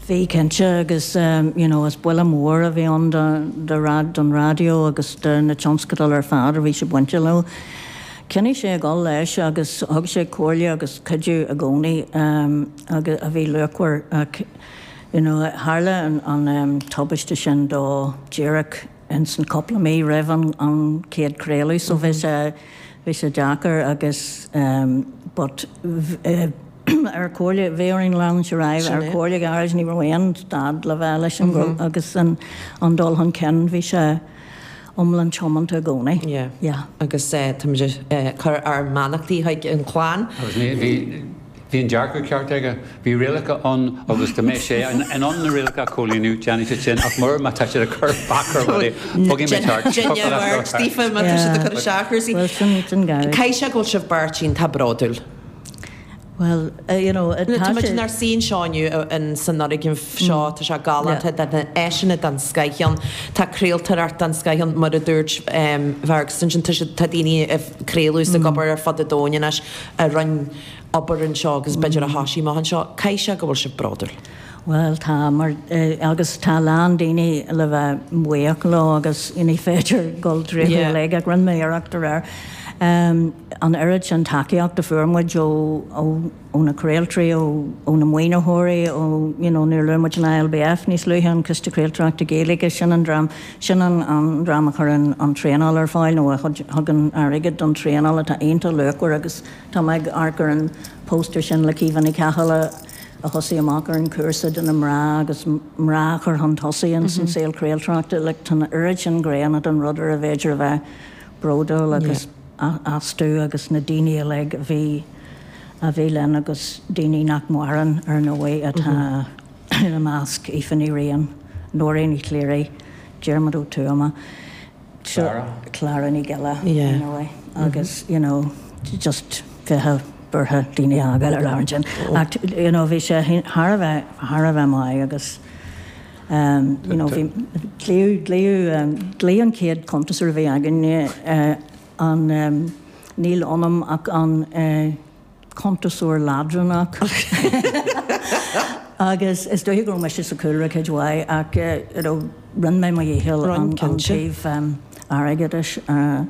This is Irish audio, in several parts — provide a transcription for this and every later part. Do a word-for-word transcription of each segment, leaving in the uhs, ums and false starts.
Bhí cinnte agus um, you know, is buille mór a bhí ann do rad don raidió agus do na tionscadail ar fad a bhí sé bainte leo. Choinnigh sé ag dul leis agus thug sé comhairle agus cuidiú i gcónaí um, agus a bhí luachmhar ach you know, tharla an, an um, tubaiste sin dó díreach in san cúpla mí roimh an, an chéad craoladh, so bhí sé bhí sé deacair agus um, but uh, ar comhairle bhí orainn leanúint ar aghaidh ar comhairle Ghearóid ní raibh aon stad le bheith leis an mm agus an, an dul chun cinn bhí sé iomlán tiomanta i gcónaí. Yeah. Yeah. Agus uh, táimid uh, cur ár mbeannachtaí chuig an chlann. Agus ní bhí bhí an dearcadh ceart aige, bhí rialacha ann agus dá mbeadh sé in ann na rialacha a chomhlíonadh déanfaidh sé sin ach mura má tá sé ag cur bac ar rudaí bogfaidh mé thart. Duine Stephen má tá siad ag cur isteach cúrsaí. Well sin sin Gearóid. Caithfidh sé go bhfuil sibh beirt iontach bródúil. Well, uh, you know, Tá muid inár suí anseo inniu in san fhoirgneamh seo tá sé galánta na áiseanna den scoth ann tá craoltóireacht den scoth ann mar a dúirt Fergus ansin tá siad- tá daoine ag craoladh is ag obair ar fud an domhain anois a rinne obair anseo agus b'fhéidir a thosaigh amach anseo. Caithfidh sé go bhfuil sibh bródúil. Well tá mar uh, agus tá lán daoine le bheith buíoch leo agus ní féidir dul tríothu Yeah. uilig ach rinne mé iarracht aréir. Um, an oiread sin tacaíocht a fuair muid ó ó ó na craoltóirí ó ó na maoinitheoirí ó you know, níor luaigh muid an ILBF níos luaithe an Coiste Craoltóireachta Gaeilge sin an dream sin an, an dream a chuireann an traenáil ar fáil nó a thugann airgead don traenáil atá iontach luachmhar agus tá mé ag amharc ar an póster sin le Caoimhe Ní Chathail a thosaigh amach ar an cúrsa do na mná agus mná chur chun tosaigh in san saol craoltóireachta le tá an oiread sin gnéanna don rud ar a bhféidir a bheith bródúil agus yeah. astu agus na daoine uilig a bhí a bhí linn agus daoine nach maireann ar ndóigh atá ina measc Aoife Ní Riain, Nóirín Ní Chléirigh, Diarmuid Ó Tuama, Clara. Clara Ní Ghiolla Yeah. you know, agus you know, just bheith buartha daoine agad ar leir sin. Ach you know, bhí sé thar a bheith thar a bheith maith agus um, you know, bhí glaodh glaodh um, glaodh an chéad chuntasóir a bhí againn uh, an um, níl ionam ach an uh, cuntasóir leadránach. Agus is dóigh go raibh mise sa chúlra cuid mhaith ach uh, you know, rinne mé mo dhícheall Rinn, an, an cinnte. taobh um, airgeadais. Uh,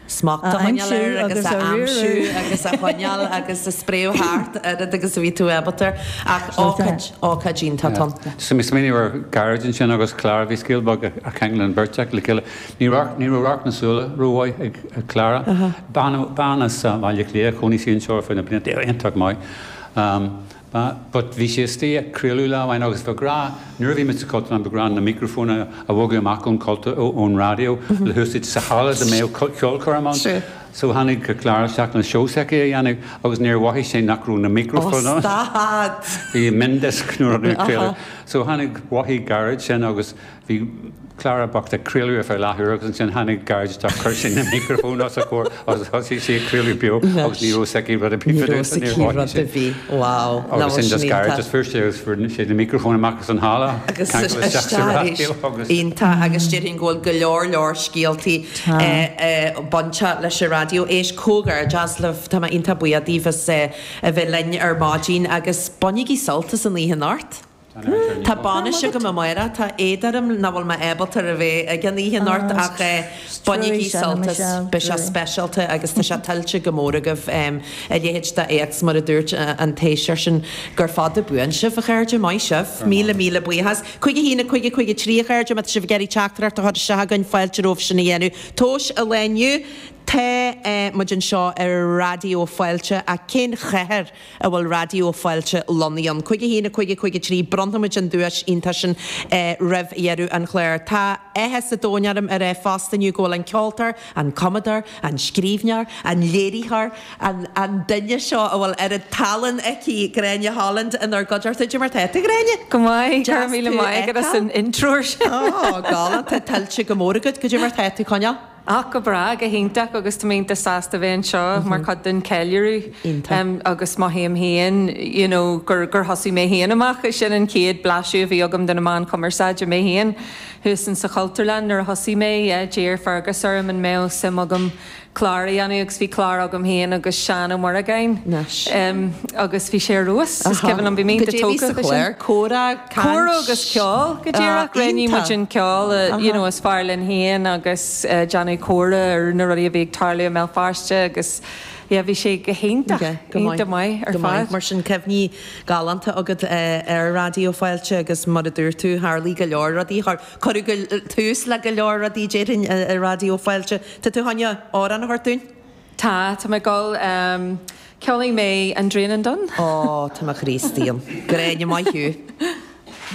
Smacht a A choinneáil air aimsiú agus agus a a aimsiú riaradh. agus a choinneáil agus a spréadh thart oiread agus a bhí tú ábalta ach ócáid ócáid iontach ann. So mé smaoineamh ar Gearóid ansin agus Clara bhí scéal beag a cheangal an bheirt le chéile. Ní raibh ní raibh radharc na súile rómhaith ag ag Clara. Bean bean as Baile Átha Cliath chónaigh sí anseo faoi na blianta iontach maith. Um, ba- But bhí sé istigh ag craoladh lá amháin agus bhí grá nuair a bhí muid sa Chultúrlann ba ghnách na microfóin a a bhogadh amach ón cultúr ón raidió le húsáid sa halla dá mbeadh ceolchoirm ann. Sure. So tháinig Clara isteach na seó s'aici a dhéanamh agus níor mhothaigh sé nach raibh na microfóin ann. Stad! Bhí MiniDisc nuair a craoladh. So tháinig mhothaigh Gearóid sin agus bhí Clara bocht ag craoladh ar feadh leathuair agus ansin tháinig Gearóid isteach chuir sé na microfóin os a comhair agus thosaigh sí ag craoladh beo agus ní raibh s'aici rud ar bith Ní fadó, raibh níor aici mhothaigh rud sé. a bhí. Wow. Agus sin just Gearóid just fuair sé agus fuair sé na microfóin amach as an halla agus ceangal isteach sa raidió agus Iontach agus déarfainn go bhfuil go leor leor scéaltaí Tá. bainte leis an raidió. Éist comhghairdeas libh tá mé iontach buíoch daoibh as eh, a bheith linn ar maidin agus bainigí sult as an oíche anocht. Tá bainis agam amárach tá éad orm nach bhfuil mé ábalta a bheith ag an oíche anocht Ah, ach eh, bainigí sin, sult as Michelle, beidh sé truaí. speisialta agus tá sé tuillte go mór agaibh um, a leithéid d'éacht mar a dúirt eh, an Taoiseach sin gur fada buan sibh a chairde maith sibh míle míle buíochas. Cúig a haon a cúig a cúig a trí a chairde má tá sibh ag iarraidh teachtaireacht a chur isteach chugainn fáilte romhaibh sin a dhéanamh. Tomhais an lae inniu Tá eh, muid anseo ar Raidió Fáilte a cén chathair a bhfuil Raidió Fáilte lonnaithe ann. Cúig a haon a cúig a cúig a trí bronnfaimid an duais iontach sin eh, roimh dheireadh an chláir. Tá áthas an domhain orm ar é fosta inniu go bhfuil an ceoltóir, an cumadóir, an scríbhneoir, an léiritheoir, an, an duine seo a bhfuil ar an tallann aici Gráinne Holland inár gcuideachta mar tá Gráinne. Go maith Deas míle tú maith agus fheiceáil. an intro sin. Ó galánta tuillte go mór agat goidé mar tá tú coinneáil. Ach go breá go hiontach agus tá mé sásta bheith anseo mar chuid den ceiliúradh Iontach. agus mothaím féin you know, gur gur thosaigh mé féin amach sin an chéad blaiseadh a bhí agam de na meáin chumarsáide mé féin. Thuas in sa Chultúrlann nuair a thosaigh mé d'iarr Fergus orm an mbeadh suim agam clár a dhéanamh agus bhí clár agam féin agus Seán Ó Muireagáin. Anois. Agus bhí sé ar fheabhas, is cuimhin liom, bhí mé iontach tógtha leis sin. Comhrá, caint. Comhrá agus ceol, go díreach. Roghnaigh muid an ceol you know is fearr linn féin agus déanamh comhrá ar na rudaí a bhí ag tarlú i mBéal Feirste agus yeah bhí sé go hiontach, iontach maith ar fad. Mar sin cuimhní galánta agat ar Raidió Fáilte agus mar a dúirt tú tharlaigh go leor rudaí, cuireadh tús le go leor rudaí déarfainn i Raidió Fáilte. Tá tú chun amhrán a thabhairt dúinn? Tá, tá mé ag dul, ceolfaidh mé An Draíonan Donn. Ó, tá mo chroí istigh ionam. Gráinne, maith thú.